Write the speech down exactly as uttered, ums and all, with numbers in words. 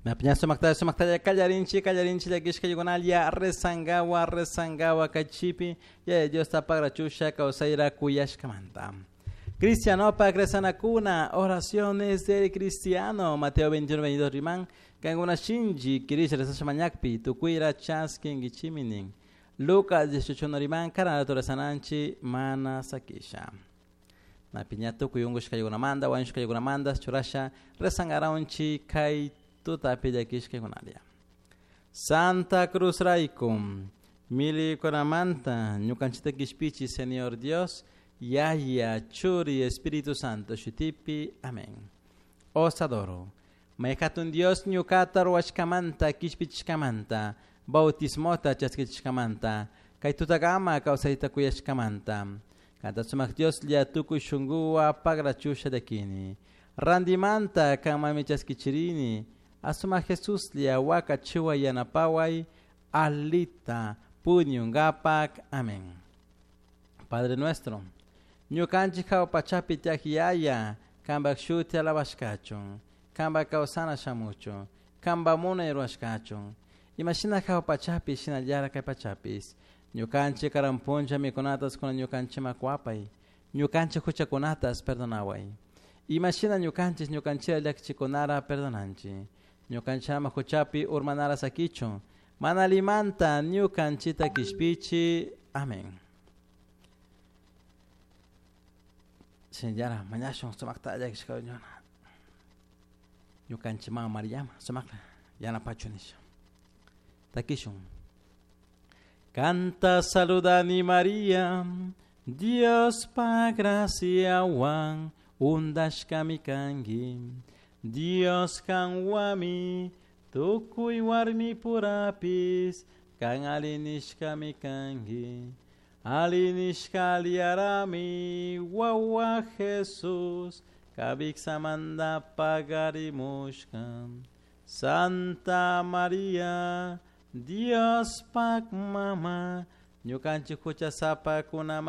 Napiña sumaktalla sumaktalla kallarinchi kallarinchi llakishkaykunalla rezangawa rezangawa kaychipi Yaya Diosta pagrachusha kawsayra kuyashkamanta. Cristianopak rezanakuna, oraciones del cristiano, Mateo veintiuno, veintidós riman, kankuna shinchi kirisha rezasha mañakpi, tukuyra chaskinkichimi nin. Lucas dieciocho riman, karanatu rezananchi mana sakisha. Napiña tukuy unkushkaykunamanta, wañushkaykunamanta, churasha rezangaraunchi kay tutapi llakishkaykunalla. Santa Cruz raykum, milikunamanta, ñukanchita kishpichi, Señor Dios, Yaya, Churi, Espíritu Santo, shutipi, amén. Os adoro. Mayhatun Dios ñukata ruwashkamanta, kishpichishkamanta, bautismota chaskichishkamanta, kay tutakama kawsayta kuyashkamanta. Kanta sumak Dios lla tukuy shunkuwa pagrachusha llakini. Randimanta kanmami chaskichirini, asuma Jesús lla wakachiwa yanapaway, alita puñungapak. Amén. Padre nuestro, ñukanchik hawa pachapi tiyak yaya, kanpak shuti alabashkachun, kanpak kawsana shamuchun, kanpak munay rurashkachun. Imashina hawa pachapi shinallara kay pachapis. Ñukanchik karan puncha mikunatas kuna ñukanchikman kuwapay, ñukanchik huchakunatas perdonaway. Imashina ñukanchik ñukanchikta llakichikunara perdonanchik. Ñukanchikama huchapi urmanara sakichun, mana allimanta ñukanchikta kishpichi. Amén. Shinallara mañashun sumakta llakishkayuna. Ñukanchik mama Mariama sumakta yanapachu nisha. Takishun. Canta saludani María, Dios pa gracia wan undashkami kanki. Dios kanwami tukuy warmi purapis kan alinishkami kanki. Alinishka aliarami wawa Jesús kabiksamanda pagarimushka. Santa María, Dios pak mama, ñukanchik huchasapa kunamanta.